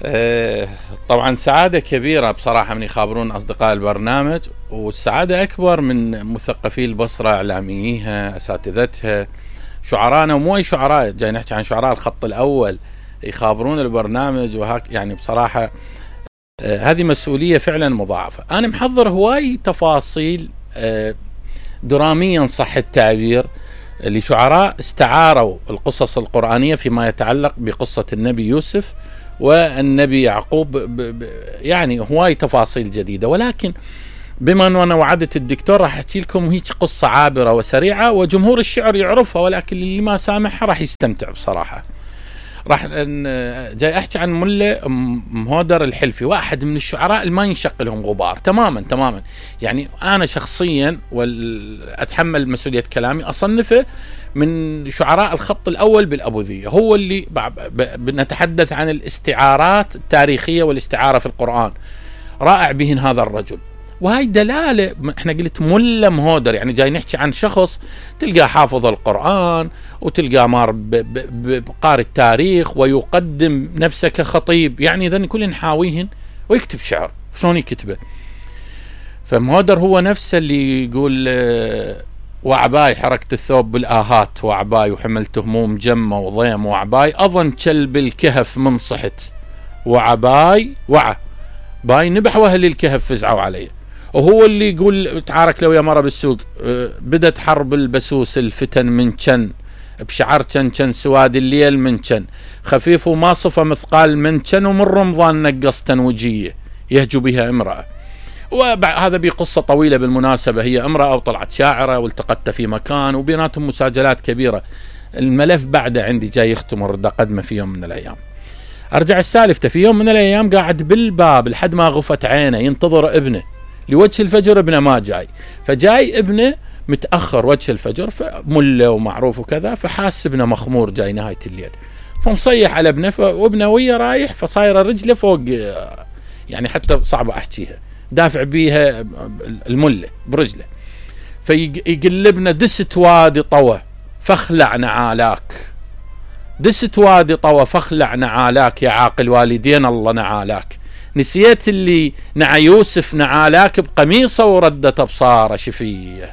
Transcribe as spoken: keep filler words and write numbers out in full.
آه، طبعا سعادة كبيرة بصراحة من يخابرون أصدقاء البرنامج، والسعادة أكبر من مثقفي البصرة، إعلامييها، أساتذتها، شعراءنا، ومو أي شعراء، جاي نحكي عن شعراء الخط الأول يخابرون البرنامج. وهك يعني بصراحة آه هذه مسؤولية فعلا مضاعفة. أنا محضر هواي تفاصيل آه دراميا صح التعبير لشعراء استعاروا القصص القرآنية فيما يتعلق بقصة النبي يوسف والنبي يعقوب، ب ب يعني هواي تفاصيل جديدة، ولكن بما أنه أنا وعدت الدكتور راح أحكي لكم هيك قصة عابرة وسريعة وجمهور الشعر يعرفها، ولكن اللي ما سامحها راح يستمتع بصراحة. راح جاي أحكي عن ملا مهودر الحلفي، واحد من الشعراء اللي ما ينشق لهم غبار تماما تماما. يعني أنا شخصيا وأتحمل مسؤولية كلامي أصنفه من شعراء الخط الأول بالأبوذية. هو اللي نتحدث عن الاستعارات التاريخية والاستعارة في القرآن، رائع بهن هذا الرجل. وهي دلالة، احنا قلت ملا مهودر، يعني جاي نحكي عن شخص تلقى حافظ القرآن وتلقى مار بقارئ التاريخ ويقدم نفسه كخطيب، يعني ذن كل نحاويهن ويكتب شعر. شلون يكتبه؟ فمهودر هو نفسه اللي يقول وعباي حركت الثوب بالآهات، وعباي وحملت هموم جمة وضيم، وعباي أظن كلب الكهف من صحت، وعباي وعى باي نبح واهل الكهف فزعوا عليه. وهو اللي يقول تعارك لو يا مرة بالسوق، بدت حرب البسوس الفتن من كن، بشعر كن كن سواد الليل من كن، خفيف وما صفى مثقال من كن، ومن رمضان نقص تنوجية يهجو بها امرأة. وهذا بقصة طويلة بالمناسبة، هي امرأة وطلعت شاعرة والتقت في مكان وبيناتهم مساجلات كبيرة. الملف بعده عندي جاي يختم ورد قدمه في يوم من الأيام. أرجع السالفة، في يوم من الأيام قاعد بالباب لحد ما غفت عينه ينتظر ابنه لوجه الفجر، ابنه ما جاي، فجاي ابنه متأخر وجه الفجر، فمله ومعروف وكذا، فحاس ابنه مخمور جاي نهاية الليل، فمصيح على ابنه، وابنه ويا رايح فصايره رجله فوق، يعني حتى صعب أحكيها، دافع بيها المله برجله، فيقلبنا دست وادي طوى فاخلع نعالاك، دست وادي طوى فاخلع نعالاك، يا عاقل والدين الله نعالاك، نسيت اللي نعى يوسف نعالاك بقميصه وردت أبصاره شفيه.